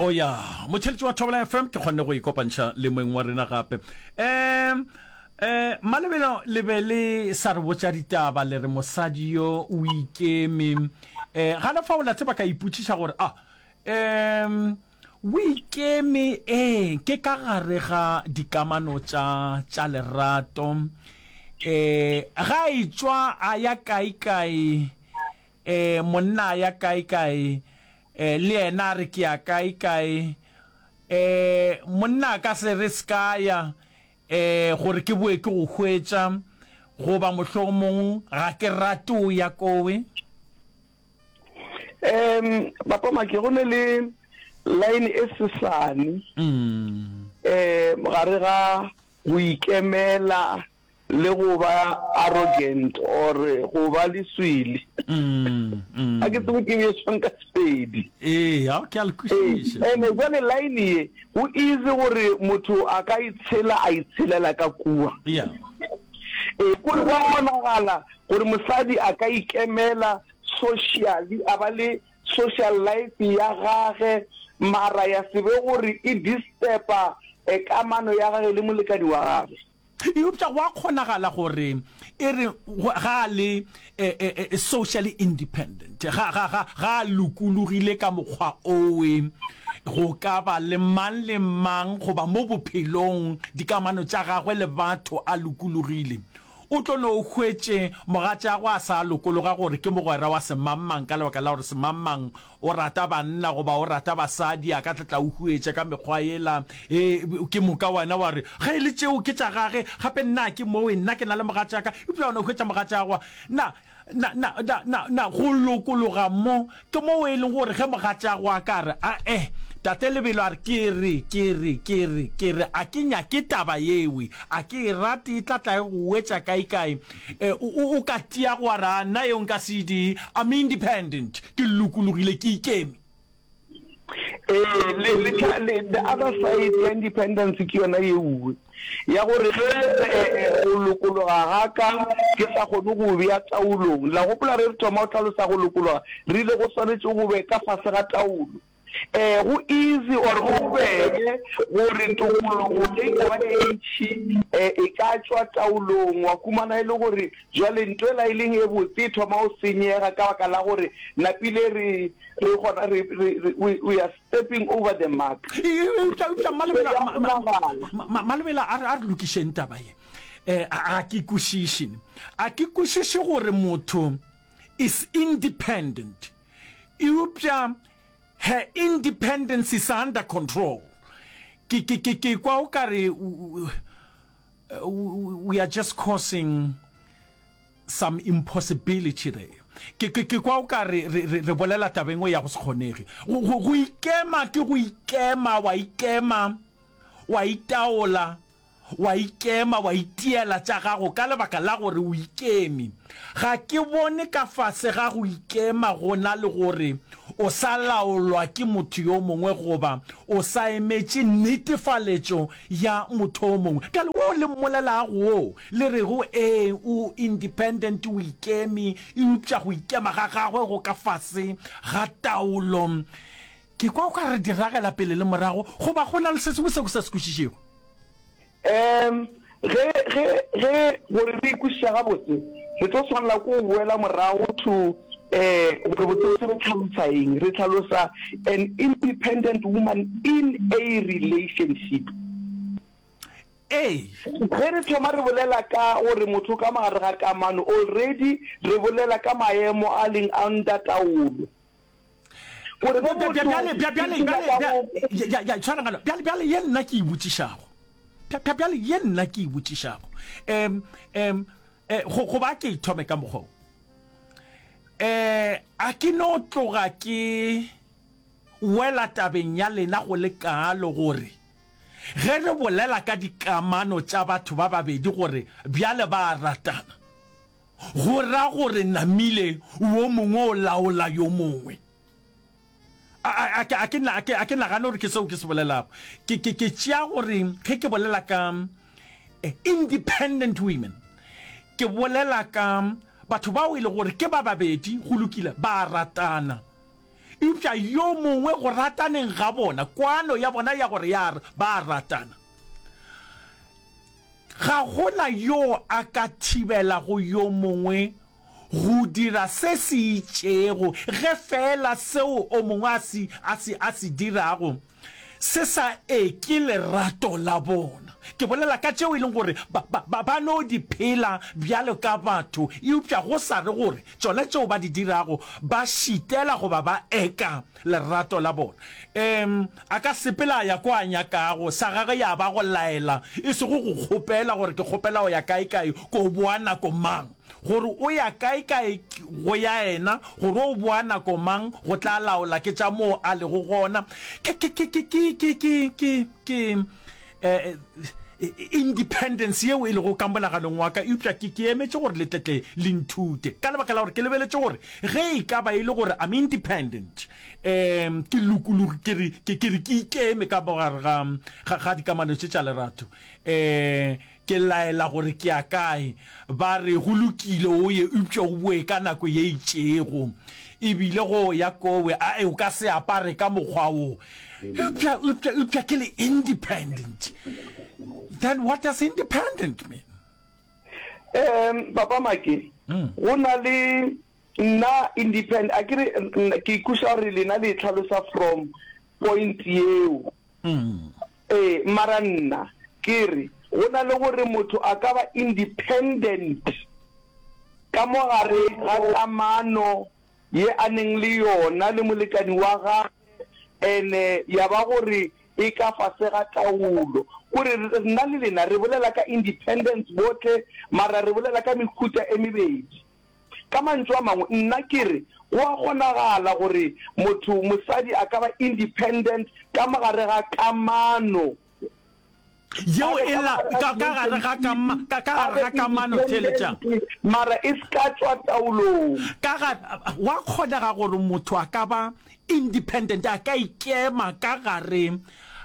O ya, motšheletši wa Thobela FM, ke kgonne go ikopantšha le moeng wa rena gape. Um, um, Malebelo le be le sa re botša ditaba, le re mosadi yo o ikeme. Um, gana fao la tseba ka ipotšiša gore, ah, um, o ikeme, ee, ke ka gare ga dikamano tša, tša lerato. Um, ga e tšwa a ya kae kae, Ee, monna a ya kae kae, ee, le yena a re ke ya kae kae. Ee, monna a ka se re se ka ya, ee, gore ke boe ke go hwetša, goba mohlomong ga ke rate o ya kowe. Um, Papa Maki, go ne le line e sesane um gare ga go ikemela le go ba arrogant or go ba leswele. Ga ke tsebe ke bje swang ka Sepedi. Ee, a ke a le kwešiša. Ene jwale line ye go easy gore motho a ka itshela a itshelela ka kua. Yeah. Ee, kore gwa kgonagala gore mosadi a ka ikemela socially, a ba le social life ya gage mara ya se be gore e disturba kamano ya gage le molekani wa gage. Eupša go a kgonagala gore e re ga a le socially independent, ga, ga, ga, ga a lokologile ka mokgwa owe, go ka ba le mang le mang goba mo bophelong, dikamano tša gagwe le batho a lokologile. O tlo no hwetše mogatšagwe a sa lokologa gore ke mogwera wa semangmang ka lebaka la gore semangmang o rata banna goba o rata basadi, a ka tla tla o huetša ka mekgwa yela. E, ke moka wena wa re, Ge e le tšeo ke tša gage, gape nna ke mowe, nna ke na le mogatšaka. Eupša wena o hwetša mogatšagwa. Na, na, na, na, na, na go lokologa mo ke moo e leng gore ge mogatšagwe a ka re, A-e, Tate Lebelo a re, ke re, ke re, ke re, ke re, a ke nyake taba yewe, a ke e rate, e tla tla e go wetša kaekae, e, o, o, o ka tia go a re, A nna yeo nka se e dire, I'm independent, ke lokologile, ke ikeme. Ee, le, le, tla, le, the other side ya independence ke yona yeuwe ya gore ge eh, go lokologa ga ka ke sa kgone go bea taolong. La gopola re re thoma go hlalosa go lokologa, re ile go swanetše go be ka fase ga taolo. Eh, go easy or go bobebe gore tokologo ge e ka ba e ntši eh, e ka tšwa taolong, wa humana e le gore jwale nto ela e leng e botse e thoma go senyega ka baka la gore napile re Re gona re, re, re, we, we are stepping over the mark. Eupša, eupša, Mmalebela, Mmalebela, a re, a re lokišeng taba ye. Eh, a ke kwešiše. A ke kwešiše gore motho is independent, eupša her independence is under control. Ke, ke, ke, ke kwa o ka re we are just causing some impossibility there. Ke, ke, ke kwa o ka re, re, re, re bolela taba e nngwe ya go se kgonege. Go, go, go ikema ke go ikema, wa ikema, wa itaola, wa ikema, wa itiela tša gago ka lebaka la gore o ikeme. Ga ke bone ka fase ga go ikema go na le gore o sa laolwa ke motho yo mongwe goba o sa emetše netefaletšo ya motho o mongwe. Bjale wo le mmolelago wo, le rego, Ee, o independent, o ikeme, eupša go ikema ga gagwe go ka fase ga taolo. Ke kwa o ka re di ragela pele le morago, goba go na le se sengwe seo ke sa se kwešišego? Um, ge, ge, ge, gore re e kwešiša gabotse, re tlo swanela ke go boela morago to, eh, gore botsebotse re hlalosa eng. Re hlalosa an independent woman in a relationship. Ee. Ge re thoma re bolela ka gore motho o ka mogare ga kamano, already re bolela ka maemo a leng under taolo. Gore ge motho Bjale, bjale, bjale, ke bjale, nyaka go. ya, ya, tshwara ngwana. Bjale, bjale ye nna ke e botšišago. Bja, bjale ye nna ke e botšišago. Um, um, eh, go, goba ke e thome ka mokgwa wo. Eh, a ke no tloga ke wela tabeng ya lena go le kaalo gore Ge re bolela ka dikamano tša batho ba babedi gore bjale ba a ratana, go ra gore namile wo mongwe o laola yo mongwe. A, a, a, a, ke, a, ke, a ke nagane gore ke seo ke se bolelago. Ke, ke, ke tšea gore ge ke bolela ka eh, independent women, ke bolela ka batho bao e le gore ke ba babedi, go lokile, ba a ratana. Eupša yo mongwe go rataneng ga bona, kwano ya bona ya gore ya ba a ratana, ga go na yo a ka thibelago yo mongwe go dira se se itšego ge feela seo o mongwe a se, a se, a se dirago se sa eke lerato la bona. Ke bolela ka tšeo e leng gore ba, ba, ba, ba no di phela bjalo ka batho, eupša go sa re gore tšona tšeo ba di dirago ba šitela goba ba eka lerato la bona. Um, a ka sepela a ya ko a nyakago, sa gagwe ya ba go laela, e sego go kgopela gore ke kgopela go ya kae-kae, ko boa nako mang. Gore o ya kae-kae go ya yena, gore o boa nako mang go tla laola ke tša moo a lego gona. Ke, ke, ke, ke, ke, ke, ke, ke, ke, eh, independence yeo e lego ka monaganong wa ka, eupša ke, ke emetše gore le tle tle le nthute. Ka lebaka la gore ke lebeletše gore ge e ka ba e le gore I'm independent, um, ke lokologi, ke re, ke, ke re ke ikeme ka mo gare ga, ga, ga dikamano tše tša lerato, um, Ke laela gore ke ya kae. Ba re, Go lokile, o ye, eupša o boe ka nako ye itšego. E bile go ya kowe, ae, o ka se apare ka mokgwa wo. Eupša, eupša, eupša ke le independent. Then what does independent mean? Um, Papa Make, go na le nna independent, a ke re, ke ikweša gore lena le e hlalosa from point yeo. Ee, mara nna ke re go na le gore motho a ka ba independent ka mo gare ga kamano ye a neng le yona le molekani wa gagwe ene ya ba gore e ka fase ga taolo. Kore nna le lena re bolela ka independence bohle mara re bolela ka mehuta e mebedi. Ka mantšu a mangwe, nna ke re go a kgonagala gore motho, mosadi, a ka ba independent ka mo gare ga kamano. Yeo e la, ka, ka gare ga kama, ka, ka gare ga kamano, theeletšang. Mara e se ka tšwa taolong. Ka ga, gwa kgonega gore motho a ka ba independent, a ka ikema ka gare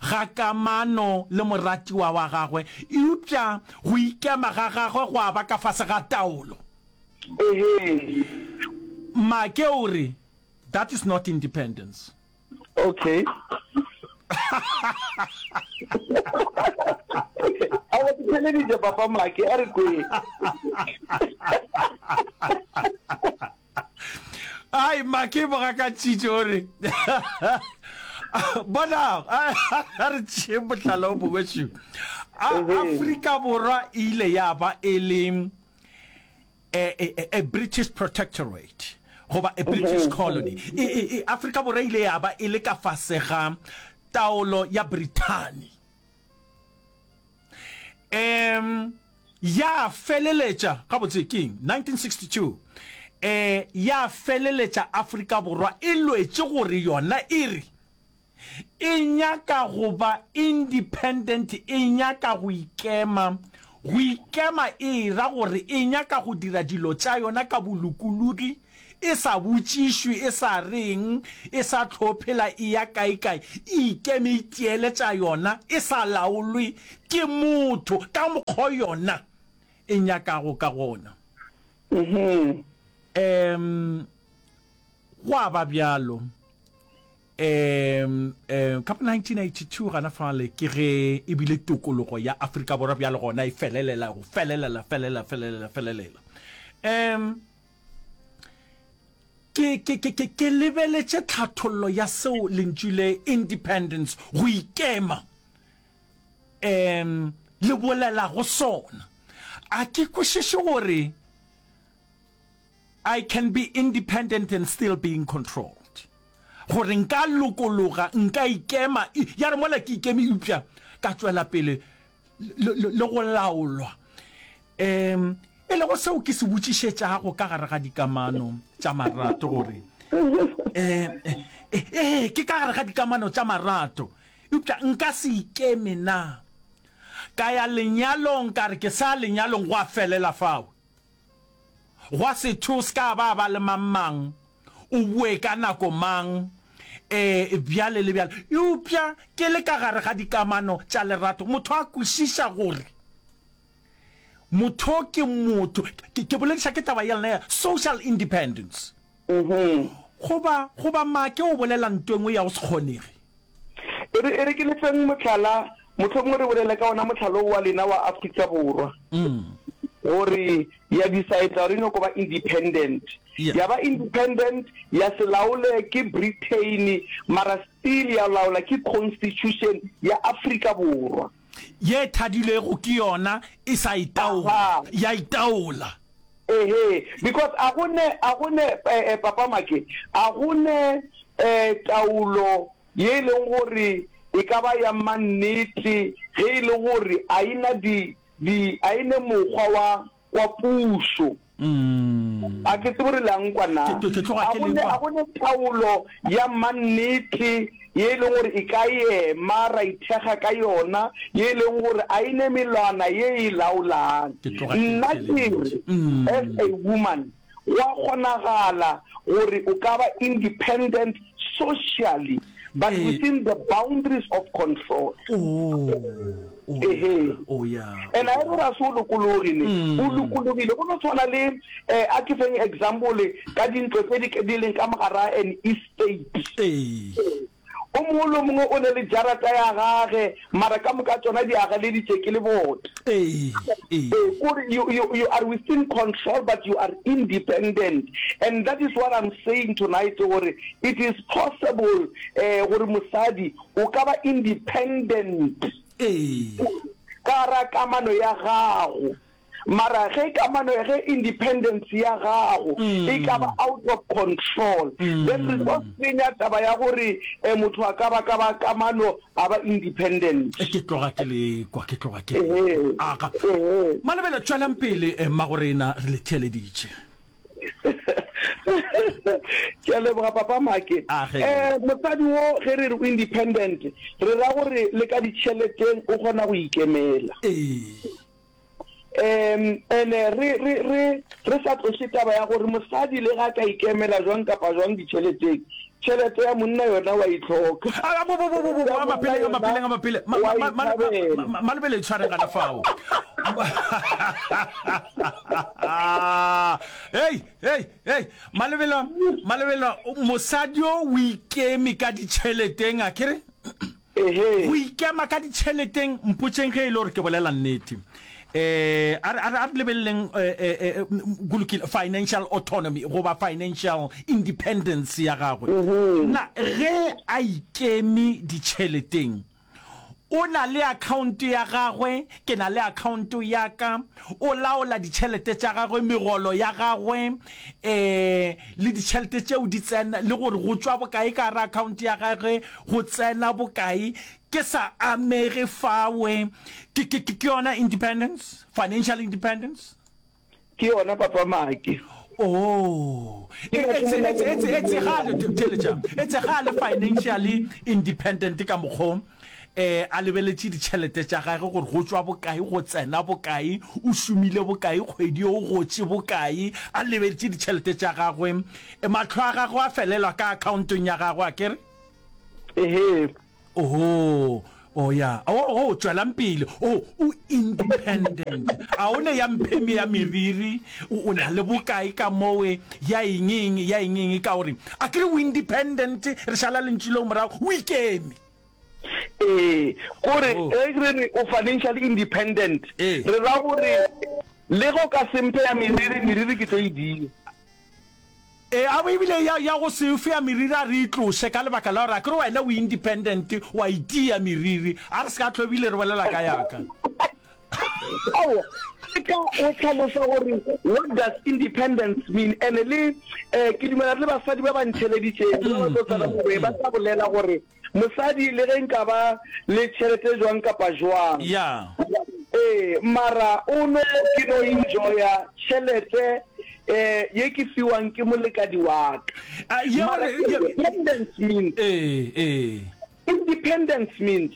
ga kamano le moratiwa wa gagwe, eupša go ikema ga gagwe gwa ba ka fase ga taolo. Ehe. Make o re, That is not independence. Okay. Aowa ke theleditše papa Make, a re kwe. Ai Make bogakantšitše o re bona a re tšee mohlala o mongwe šo. Afrika Borwa e ile ya ba e le a, a, a British protectorate goba a British colony. E, e, e, Afrika Borwa e ile ya ba e le ka fase ga taolo ya Brithani. Um ya feleletša gabotse ke eng 1962 eh ya feleletša Afrika Borwa e lwetše gore yona e re E nyaka go ba independent, e nyaka go ikema. Go ikema e ra gore e nyaka go dira dilo tša yona ka bolokologi, e sa botšišwe, e sa reng, e sa tlo phela e ya kaekae, e ikeme e tiele tša yona, e sa laolwe ke motho ka mokgo yona e nyakago ka gona. Um, gwa ba bjalo. Um, um, ka bo 1982 gana fale ke ge e bile tokologo ya Afrika Borwa bjale gona e felelela go felelela felelela felelela felelela. Um, ke, ke, ke, ke, ke lebeletše tlhathollo ya seo lentšu le independence go ikema um le bolelago sona. A ke kwešiše gore I can be independent and still being controlled. Gore nka lokologa, nka ikema, ya re mola ke ikeme eupša ka tšwela pele le, le, le go laolwa. Um, e lego seo ke se botšišetšago ka gare ga dikamano tša marato gore um ee ke ka gare ga dikamano tša marato eupša nka se ikeme na ka ya lenyalong ka re ke sa lenyalong gwa felela fao Gwa se thwe o se ka ba ba le mang-mang, o boe ka nako mang, ee, bjale le bjale. Eupša ke le ka gare ga dikamano tša lerato, motho a kwešiša gore motho ke motho. Ke, ke bolediša ke taba ya lena ya social independence. Goba, goba make o bolela nto e nngwe ya go se kgonege? E re, e re ke le feng mohlala, mohlomongwe re bolele ka wona mohlala wo wa lena wa Afrika Borwa, gore ya decide gore e nyoko ba independent. Ya ba independent, ya se laole ke Britain, mara still ya laola ke constitution ya Afrika Borwa. Ye thadilwego ke yona e sa itaola, ya itaola. Ehe, because a go ne, a go ne, eh, eh, Papa Make, a go ne eh, taolo ye e leng gore e ka ba ya mannete ge e le gore a e na di, di, a e ne mokgwa wa, wa pušo. A ke tsebe gore le a nkwa na. Ke, ke tloga A ke go le ne, kwa. a go ne taolo ya mannete ye e leng gore e ka ema ra ithekga ka yona, ye e leng gore a e ne melwana ye e laolang. Ke tloga ke Nna ke re, theeleditše. as a woman, go a kgonagala gore o ka ba independent socially, but Ee. within the boundaries of control. Oh, oh ya, Ehe. oh ya, And oh a e ya. re ga se o lokologe ne, o lokologile. Go no tshwana le, eh, a ke feng example ka dintlo tse di, di leng ka mogara an estate. Ee. O mongwe le o mongwe o ne le jarata ya gage, mara ka moka tšona di agaleditše ke lebota. Ee, ee. Ee, kore you, you, you are within control but you are independent. And that is what I'm saying tonight gore it is possible eh, gore mosadi o ka ba independent Ee. ka gara kamano ya gago. Mara ge kamano, ge independence ya gago e ka ba out of control, then re tlo senya taba ya gore motho a ka ba ka ba kamano a ba independent. Ke tloga ke le kwa, ke tloga ke le kwa. Aga. Malebela, tšwelang pele, mmagorena, re le theeleditše. Ke a leboga Papa Make. Age. Mosadi wo ge re re o independent, re ra gore le ka ditšheleteng o kgona go ikemela. Ee. Um ene re, re, re, re sa tloše taba ya gore mosadi le ga a ka ikemela jwang kapa jwang ditšheleteng, tšhelete ya monna yona wa e hloka. A, bo, bo, bo, bo, bo, Ya a monna mapele, a yona mapele, a mapele. Ma, wa ma, e ma, ma, thabela. ma, Malebele itshwareng gana fao. Hei, hei, hei. Malebela, Malebela, mosadi yo o ikeme ka ditšheleteng, a ke re? Ehe. Go ikema ka ditšheleteng, mpotšeng ge e le gore ke bolela nnete. Eh, a re, a re, a re lebeleleng, eh, eh, eh, go lokile, financial autonomy goba financial independence ya gagwe. Na ge a ikeme ditšheleteng, o na le akhaonto ya gagwe, ke na le akhaonto ya ka, o laola ditšhelete tša gagwe, megolo ya gagwe, eh, le ditšhelete tšeo di tsena, le gore go tšwa bokae ka gare akhaonto ya gagwe, go tsena bokae, ke sa amege fawe. Ke, ke, ke yona independence, financial independence? Ke yona, Papa Make. Oh, e, etse, etse, etse, etse ga le, theeletša, etse ga le financially independent ka mokgo, eh, a lebeletše ditšhelete tša gagwe gore go tšwa bokae, go tsena bokae, o šomile bokae kgwedi ye, o gotše bokae, a lebeletše ditšhelete tša gagwe, eh, mahlo a gagwe a felelwa ka akhaontong ya gagwe, a ke re? Ehe. Oho, oh ya, oh, oh, tšwelang pele, oh, o independent, a o ne ya mpheme ya meriri, o, o na le bokae ka mowe, ya eng eng, ya eng eng, ka gore a ke re o independent, re šala lentšu leo morago, o ikeme. Ee, kore Oh. ge re re o financially independent, Ee. re ra gore le ge o ka se mphe ya meriri, meriri ke tlo e dia. Ee, a ebile ya, ya go se fe ya meriri a re e tloše ka lebaka la gore a ke re wena o independent, wa itia meriri, a re se ka hlwa ebile re bolela ka ya ka. Aowa, ke ka o hlalosa gore what does independence mean, and le eh, ke dumela le basadi ba ba ntheleditšeng ba ba tlo tsena mowe ba tla bolela gore Mosadi le ge nka ba le tšhelete jwang kapa jwang. Ya. Ee, mara o no ke no enjoya tšhelete eh ye ke fiwang ke molekadi wa ka. A, ye Mara gore, ye, independence means. Ee, ee. Independence means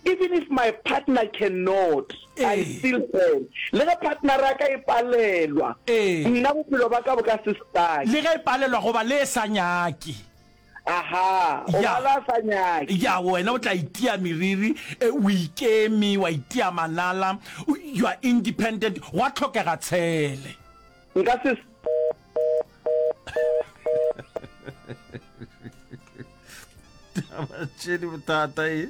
even if my partner cannot, I Ee. still can. Le ge partner ya ka e palelwa, Ee. nna bophelo ba ka bo ka se stuck. Le ge e palelwa goba le e sa nyake. Aha, o Ya. bala a sa nyake. Ya, wena o tla itia meriri, e, o ikeme, wa itia manala, o, you are independent, gwa hlokega tshele. Nka se. Taba tše di bothata e.